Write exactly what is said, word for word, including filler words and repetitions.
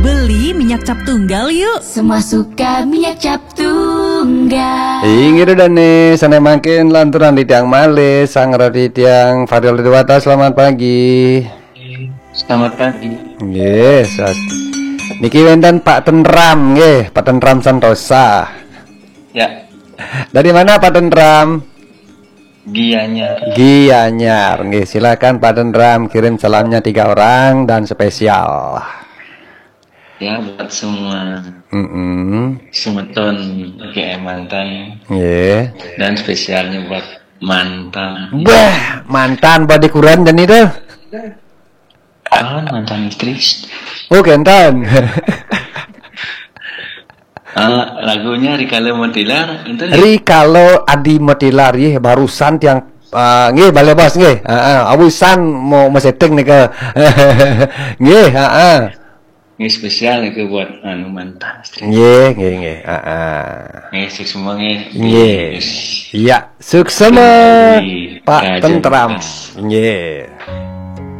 Beli minyak cap tunggal yuk. Semua suka minyak cap tunggal. Inggih, Dane, sané mangkin lanturang titiang malih, sang roti tiang Fadil Dewata, selamat pagi. Selamat pagi. Nggih, sas. Niki wénten Pak Tentram nggih, Pak Tentram Santosa. Ya, Dari mana, Pak Tentram? Gianyar. Gianyar. Nggih, silakan Pak Tentram kirim salamnya tiga orang dan spesial. Ya, buat semua Mm-mm. semeton G M mantan Nggih. Dan spesialnya buat mantan. Wah, mantan badé kuran dan itu. Ah, mantan istri. Oh, kénten. Ah, lagunya Rikala Mentilar itu. Rikala Adi Metilar, yeh, barusan tiang, ah, nggih, balik, Bos, nggih. Heeh, awisan mau mesetting nika. Nggih, heeh. Ini spesial itu buat anu mantan istri. Nggih, nggih, nggih. Heeh. Nggih, sukses semua nggih. Nggih. Iya, suksema Di Pak Raja Tentram. Mas. Nggih.